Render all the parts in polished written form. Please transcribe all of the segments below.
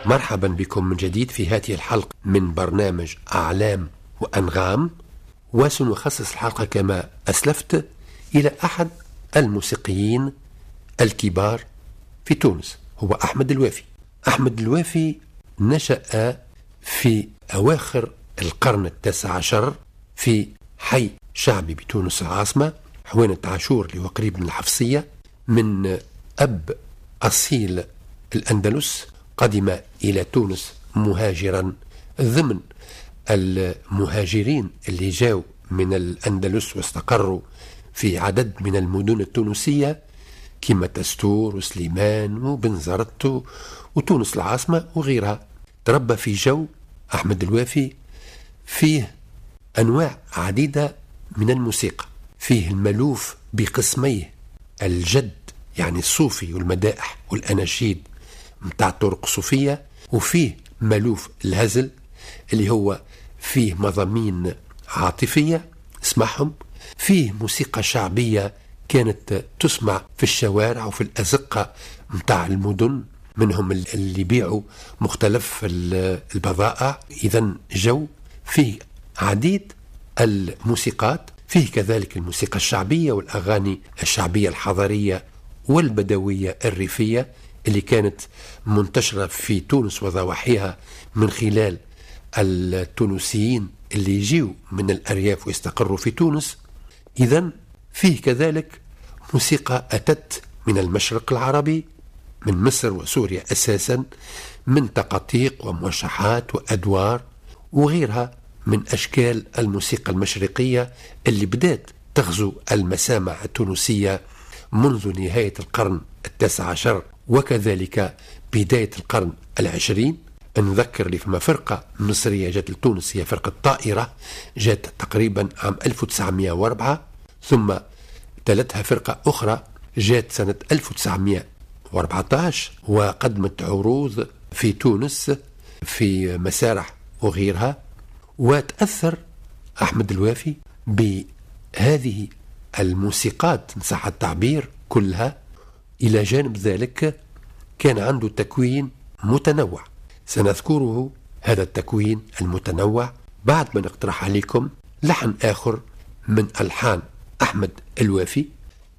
مرحبا بكم من جديد في هذه الحلقة من برنامج أعلام وأنغام، وسنخصص الحلقة كما أسلفت إلى أحد الموسيقيين الكبار في تونس، هو أحمد الوافي. أحمد الوافي نشأ في أواخر القرن التاسع عشر في حي شعبي بتونس العاصمة، حوينة عاشور اللي هو قريب من الحفصية، من أب أصيل الأندلس قدم إلى تونس مهاجرا ضمن المهاجرين اللي جاوا من الأندلس واستقروا في عدد من المدن التونسية كما تستور وسليمان وبنزرت وتونس العاصمة وغيرها. تربى في جو أحمد الوافي فيه أنواع عديدة من الموسيقى، فيه الملوف بقسميه، الجد يعني الصوفي والمدائح والأناشيد متاع طرق الصوفية، وفيه ملوف الهزل اللي هو فيه مضامين عاطفية اسمعهم، فيه موسيقى شعبية كانت تسمع في الشوارع وفي الأزقة متاع المدن، منهم اللي يبيعوا مختلف البضائع. إذن جو فيه عديد الموسيقات، فيه كذلك الموسيقى الشعبية والأغاني الشعبية الحضرية والبدوية الريفية اللي كانت منتشرة في تونس وضواحيها من خلال التونسيين اللي يجيوا من الأرياف ويستقروا في تونس. إذن فيه كذلك موسيقى أتت من المشرق العربي، من مصر وسوريا أساسا، من تقاطيق وموشحات وأدوار وغيرها من أشكال الموسيقى المشرقية اللي بدأت تغزو المسامع التونسية منذ نهاية القرن التاسع عشر وكذلك بداية القرن العشرين. نذكر اللي فما فرقة مصرية جات لتونس، هي فرقة طائرة، جات تقريبا عام 1904، ثم تلتها فرقة أخرى جات سنة 1914 وقدمت عروض في تونس في مسارح وغيرها. وتأثر أحمد الوافي بهذه الموسيقات إن صح التعبير كلها. إلى جانب ذلك كان عنده تكوين متنوع، سنذكره هذا التكوين المتنوع بعد ما نقترح عليكم لحن آخر من ألحان أحمد الوافي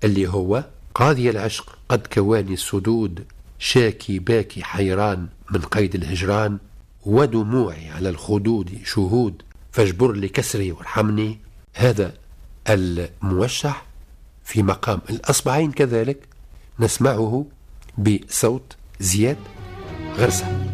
اللي هو قاضي العشق قد كواني السدود، شاكي باكي حيران من قيد الهجران، ودموعي على الخدود شهود، فاجبر لي كسري وارحمني. هذا الموشح في مقام الأصبعين كذلك نسمعه بصوت زياد غرسة.